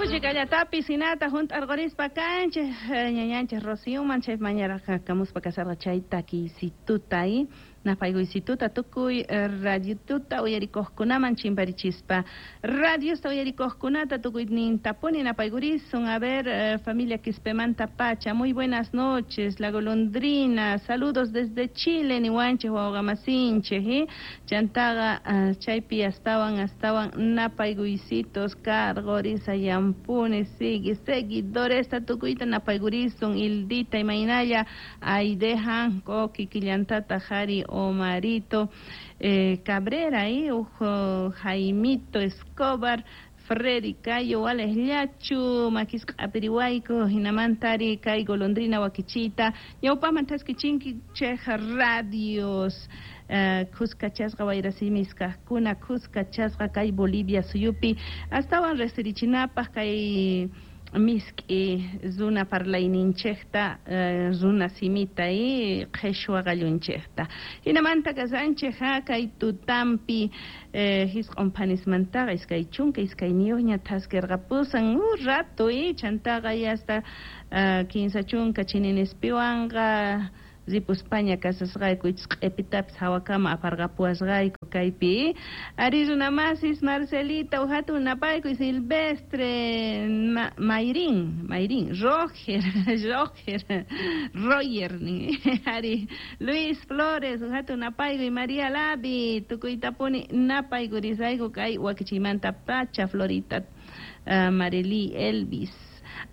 Chikallatapis hinata hunt'arqurispa kanchik ñañanchik Rocíoman chay mañaraq kamuspa kasarqa chay takiysituta napaykuysituta tukuy radiotuta uyarikuqkunaman chimparichispa radiosta uyarikuqkunata tukuynintapuni napaykurisun. A ver, familia Quispemanta pacha, muy buenas noches, la golondrina, saludos desde Chile niwanchik wawqamasinchik, chantaqa chaypi astawan napaykuysitos karqurisayampuni sigue seguidoresta tukuyta napaykurisun Hildita imaynalla Aidejan Koki killantata Jari Omarito Cabrera, ujo Jaimito Escobar, Freddy Cayo, Alex Llachu, Makisqa Apirihuayco, Hinamantari, kay golondrina wakichita, ñawpaqman taskichinki chej radios, kuskachasqa wayrasimiskaqkuna, kuskachasqa kay Bolivia suyupi, astawan riqsirichinapaq kay misk'i runa parlayninchikta, runa simita y qhishwa qallunchikta. Hinamanta kasanchik kay tutampi hisq'un phanismantaqa 22 ña thaskirqapusan un rato chantaqa hasta 30 chininispiwanqa ripuspaña kasasqayku q'ipitapis hawakama aparqapuwasqayku kaypi. Ari runamasis Marcelita uhatun napaykuy Silvestre Mayrin Roger Roger ari Luis Flores uhatun napaykuy María Lavi tukuytapuni napaykurisayku kay wakichiymanta pacha Florita Marely Elvis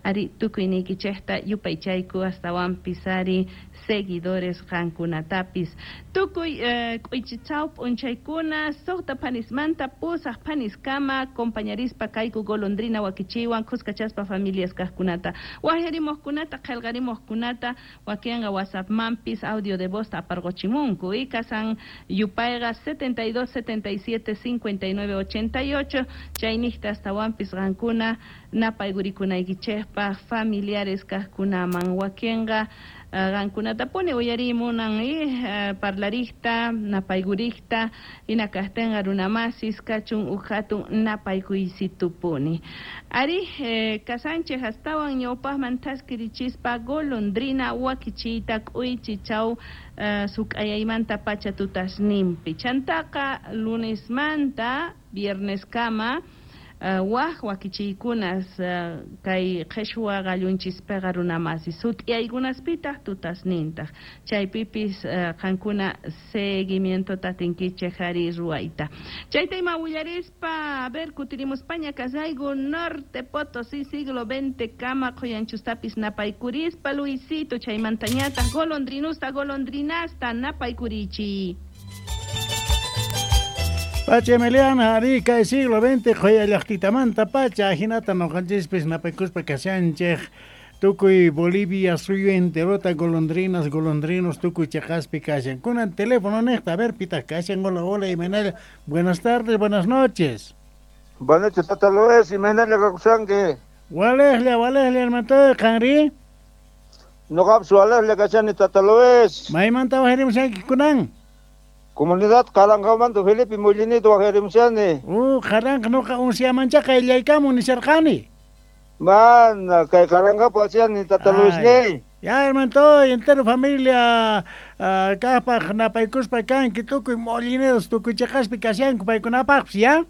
ari tukuyniykichikta yupaychayku astawanpis ari seguidores qankunatapis tukuy k'uychichaw p'unchaykuna 6 phanismanta 8 phaniskama compañarispa kayku golondrina wakichiywan kuskachaspa familias kaqkunata wajyarimuqkunata qillqarimuqkunata wakinqa WhatsAppmanpis audio de voz aparquchimunku y kasan yupayqa 72 77 59 88 chayniqta astawanpis qankuna napaykuriykunaykichikpaq familiares kaqkunaman wakinqa qankunatapuni uyarimunan parlarikta napaykurikta hina kaqtinqa runamasis kachun uq hatun napaykuysitupuni ari kasanchik astawan ñawpaqman thaskirichispa golondrina wakichiyta k'uychichaw suk'ayaymanta pacha tutasninpi chantaqa lunesmanta vierneskama waj wakichiykunas kay qhishwa qallunchispiqa runamasi sut'iyaykunaspitaq tutasnintaq chaypipis qankuna seguimientota atinkichik ari ruwayta chayta ima willarispa a ver kutirimuspaña kasayku Norte Potosí siglo XX kama qhuyanchustapis napaykurispa Luisito chaymantañataq golondrinusta golondrinasta napaykurichiy. Pacha Emiliana, ari kay siglo XX qhuyallaqtitamanta pacha hinata nuqanchispis napaykuspa kashanchik tukuy Bolivia suyu enterota golondrinas, golondrinos tukuy chaqaspi kashan. Kunan teléfono niqta, a ver pitaq kashan, hola, hola, imaynalla. Buenas tardes, buenas noches. Buenas noches, Tata Luis, imaynalla kawsanki. Walejlla, walejlla, hermano, qanri? Nuqapis walejlla kashani, Tata Luis. Maymanta wajarimushanki kunan? Comunidad Qaranqamanta Felipe Mollinedo wajarimushani. Qaranqa nuqa unsiamancha qayllaykamun nisharqani. Mana, kay Qaranqapi wasiani, Tata Luis ni. Ya, hermano, entero familia kaqpaq napaykuspa kanki tukuy Mollinedos tukuy chaqaspi kashanku paykunapaqpis, ya?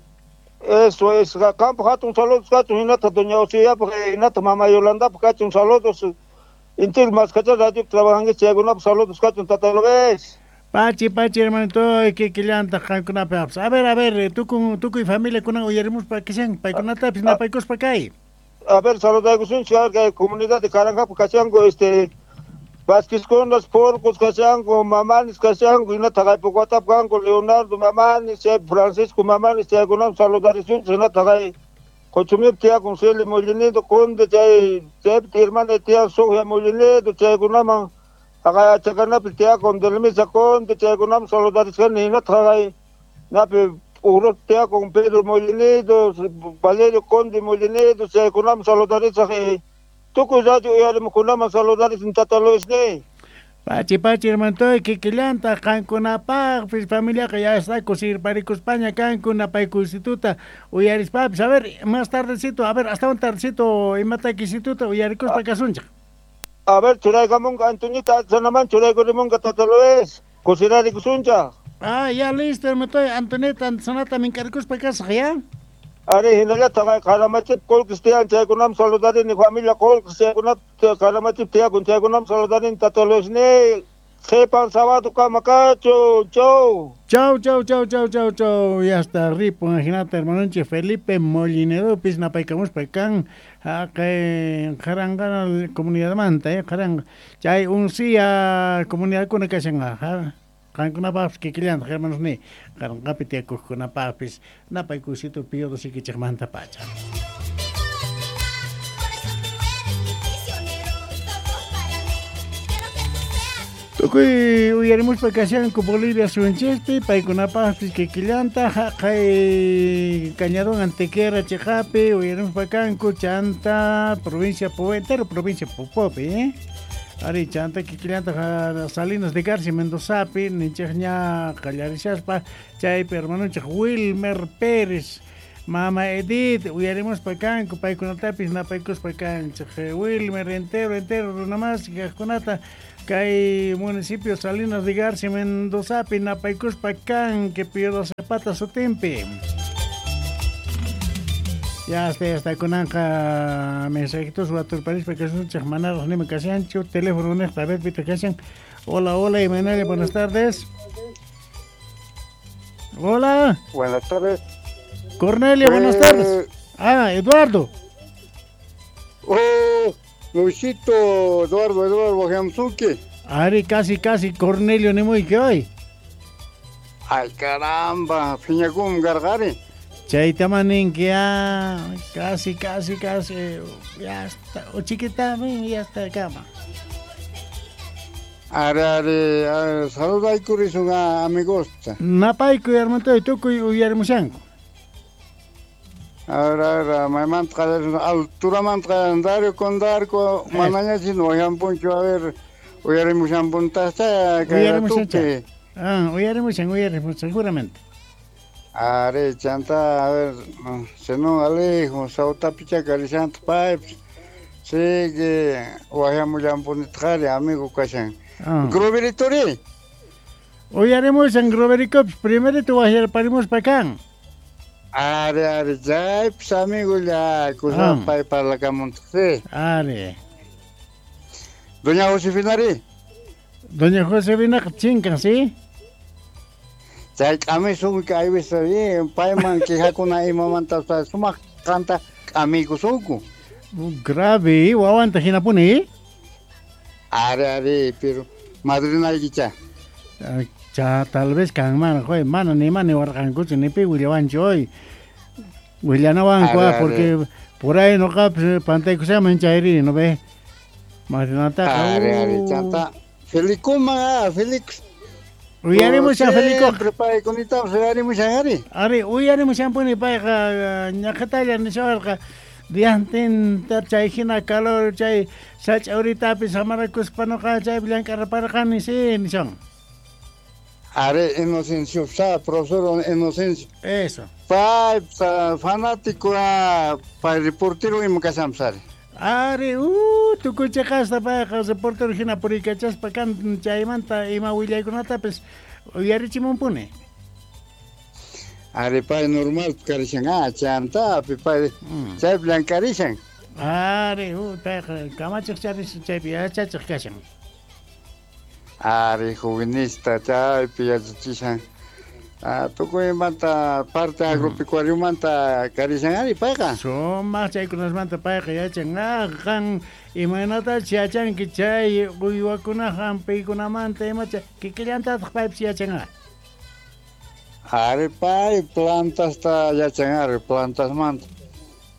Eso es, qanpaq hatun saludos kachun hinata doña Osiyapaq hinata mama Yolandapaq kachun saludos. Entero Maskacha radio trabajanki chaykunapaq saludos kachun, Tata Luis. Pachi, pachi, hermanito, kikillantaq qankunapaqpis. A ver, tukuy familia kunan uyarimuspa kashan, paykunatapis napaykuspa kay. A ver, saludaykusunchik kay comunidad de Qaranqapi kashanku, Vázquezkunas, Porcos kashanku, Mamanis kashanku, hinata haypukwatap kanku, Leonardo Mamanis, Francisco Mamanis, chaykunapas saludarisunchik, hinata hay Qochumip tiyakun Celia Mollinedo, Conde, chay chaypi hermana tiyan Sofia Mollinedo, chaykunaman haqay achakanapi tiyakun Delmisa Conde, chaykunaman saludarisqani, hinata haqay napi Urut tiyakun Pedro Mollinedo, Valerio Conde Mollinedo, chaykunaman saludarisaq, tukuy radio uyarimuqkunaman saludarisun, Tata Luis ni. Pachi pachi hermantoy kikillanta qankunapaqpis familiaqa ya está kusirparikuspaña kanku napaykuysituta uyarispapis. A ver, más tardecito, a ver, hasta un tardecito imatakisituta uyarikuspa kasunchik. A ver, churaykamunqa Antoñita sanaman churaykurimunqa tata Luis. Kusirarikusunchaq. Ah, ya listo, hermantoy, Antonita sanata minkarikuspa kasaq, ya. Ari hinallataq qaramachip qullqis tiyan chaykunam saludarini familia qullqis chaykunap qaramachip tiyakun chaykunam saludarini tata Luisni. Qhipan sábado kama kachun, chau. Chau, chau, chau, chau, chau, chau. Ya está ripun ajinata hermanonchik Felipe Mollinedopis napaykamuspa kan haqay qaranqana comunidadmanta, qaranqa chay uncia comunidadkuna kashan qankunapaqpis kikillantaq hermanos ni qaranqapi tiyakuqkunapaqpis napaykusito piodo sikichikmanta pacha. Tukuy uyarimuspa kashanku Bolivia suyunchispi paykunapaqpis kikillanta haqay Cañadón Antequera chiqapi uyarimuspa kanku chanta provincia entero provincia Popopi, Ari chanta kikillanta Salinas de Garcia Mendozapi ninchikña qallarishaspa chaypi hermanunchik Wilmer Pérez Mama Edith uyarimuspa kanku paykunatapis napaykuspa kanchik Wilmer entero entero runamas kaqkunata kay municipio Salinas de Garcia Mendozapi napaykuspa kanki Pío Zapata sutinpi. Ya hasta kunanqa mensajitos waturparispa kasunchik manaraq nima kashanchu teléfono niqta a ver pita kashan. Hola, hola, Imanaya, buenas tardes. Hola. Buenas tardes. Cornelio, buenas tardes. Ah, Eduardo. Oh, Luisito, Eduardo Jamsuki. Ari, casi, casi, Cornelio, ni muy que hoy. Ay, caramba, fiñakum gargari. Chaytamanin que ya, casi, casi, casi, ya está, o chiquita, ya está cama. Ari, ari, ari, saludaykurishun amigos. Napayku, hermano, tukuy uyarimushanku. Ahora, maymanta alturamanta Dario con Darko, manaña chino uyampunchu, a ver, uyarimushanpuntasta, kay ratupi. Ah, uyarimushan, uyarimushan, seguramente. Are, chanta, a ver, Zenón Alejo, Sautapicha, Carishanta, Pipes, sigue, wayamullhampunitqari, amigo kashan. Groverituri. Uyarimushan, Groverikops, primerito wayarparimuspa kan. Are, are, chaypis amigo ya, kusa pay parlakamuntaq. Are. Doña Josefinari. Doña Josefina chinkan, ¿sí? Chay k'amisunki aywisa bien, payman quejakuna imamanta sumaq qanta k'amiykusunku. Grave, wawanta hinapuni. Are, are, pero madrinaykicha. Cha, tal vez kanman, joy, mana ni mana warqankuchu ni pi willawanchu hoy. Willanawanku, porque por ahí noqapis pantaykusaman chayri, ¿no ve? Madrinataqa. Are, are, chanta. Felicuma, Felix. Uyarimushan Felico. Paykunitapas uyarimushan ari. Ari, uyarimushanpuni payqa ñaqatalla nishawarqa diantinta chay hina calor chay sach'awritapis samarakuspa noqa chaypi llank'arparqani sí nishan. Are Inocencio, sa profesor Inocencio. Eso. Pay fanático pay reportero ima kashanpas ari. Ari, tukuy chiqasta payqa reportero hina puriykachaspa kan chaymanta ima willaykunatapis uyarichimunpuni. Ari pay normal karishan, chantapi pay chaypi llank'arishan. Ari, payqa kamachiq charishan chaypi yachachiq kashan. Ari juvenista chaypi yachachishan. Tukuymanta parte agropecuariomanta karishan ari payqa. Sumaq chaykunasmanta payqa yachan. Qan imaynatachus yachanki chay uywakuna hampiykunamanta imacha kikillantataq paypis yachan. Ari pay plantasta yachan ari plantasmanta.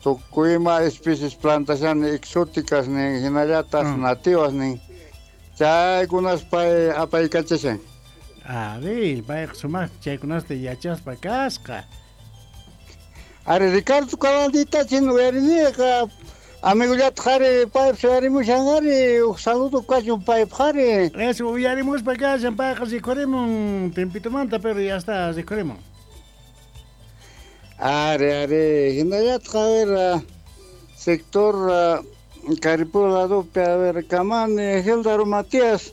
Tukuyma especies plantashan exóticas nin hinallataq nativas nin. Chaykunas pay apaykachashan. Ari, payqa sumaq chaykunasta yachaspa kasqa. Ari, Ricardo Calandita chin uyariniqa Amigollataq qhari paypis uyarimushan ari, huk saludo kachun paypaq ari. Eso uyarimuspa kashan payqa rikhurimun timpitumanta, pero ya está rikhurimun. Ari, ari, hinallataq a ver, sector Caripuro ladopi, a ver, Kamani, Gildaro Matías,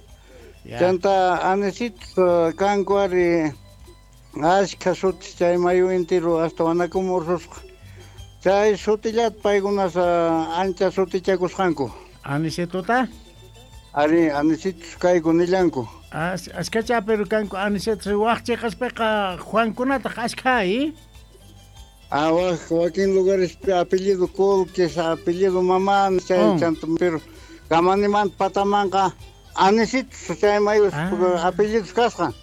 chanta Anecitos kanku ari, ashkha sutis chay mayu intiru hasta wanakumu ursusqa. Chay sutillata paykunas ancha sutichakusqanku. Anicetota? Ari, Anecitos kayku nillanku. Ashkacha pero kanku Anecetos waq chiqaspiqa Juankunataq ashkha, ¿eh? Ah, wakin lugares apellido Colques, apellido Mamán, chay chanta, pero Kamanimanta patamanqa Anecitos chay mayu apellidos kasqa.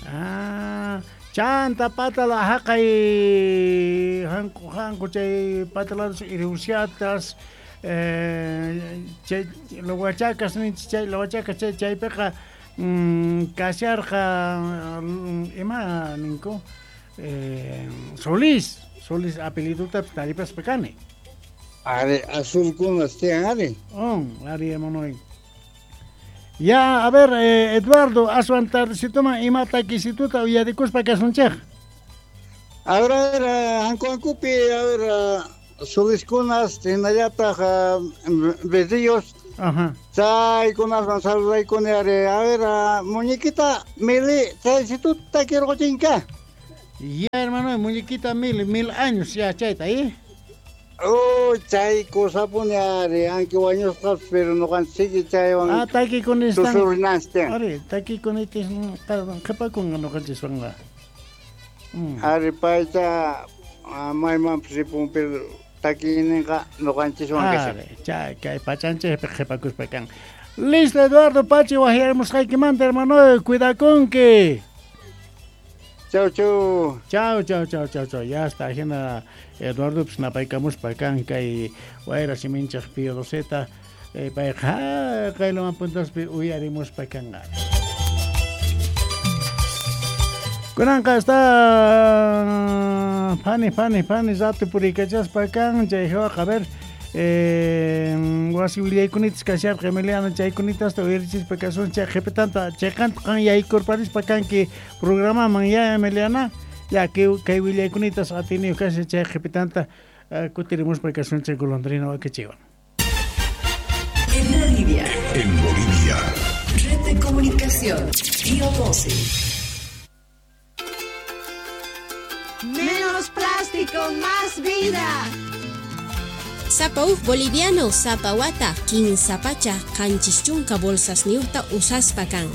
Ah, chanta patala haqay hanku chay patala irusiatas chay lawachacas ninchik chay lawachacas chay chaypiqa kasharqa ima ninku Solís, Solís apelliduta taripaspa kani. Ari azulkunas tiyan ari. Ari hermano. Ya, a ver, Eduardo, aswan tardecitoman ima takisituta uyarikuspa kasunchik. A ver, hanku hankupi, a ver, Soliskunas, hinallataq Berrillos. Ajá. Chaykunasman saludaykuni ari. A ver, muñequita Mili, chaysituta kirquchinka. Ya, hermano, muñequita Mili, 1000 años ya chayta, ¿eh? Oh, chay cosapuni ari, aunque wañusqapas, pero ñuqanchik chaywan. Ah, takikunistan. Tusurinanchik. Ari, takikunitis qhipakunqa ñuqanchiswanqa. Ari payta maymanpas ripun, pero takiyninqa ñuqanchiswan kashan. Ari, chay kay pachanchikpi qhipakuspa kan. Listo, Eduardo Pachi, waqyarimusqaykimanta, hermano, cuidakunki. Chau, chau. Chau, chau, chau, chau, chau. Ya está, hina Eduardo pues napaykamuspa kan kay wayra siminchaq Pío Doceta payqa qaylaman puntaspi uyarimuspa kanqa. Kunanqa está phani phani phani rato puriykachaspa kan chay hawaqa a ver wasi willaykunitas kasharqa Emiliano chaykunitasta uyarichispa kasun chay qhipitanta chayqanta qan yaykurparispa kanki programaman ya Emiliana ya kay willaykunitas atiniyuq kashan chay qhipitanta kutirimuspa kasun chay golondrina wakichiwan. En Bolivia. En Bolivia. Red de comunicación. Pío 12. Menos plástico, más vida. Sapa uj boliviano sapa wata 15 pacha 70 bolsas niuta usaspa kan.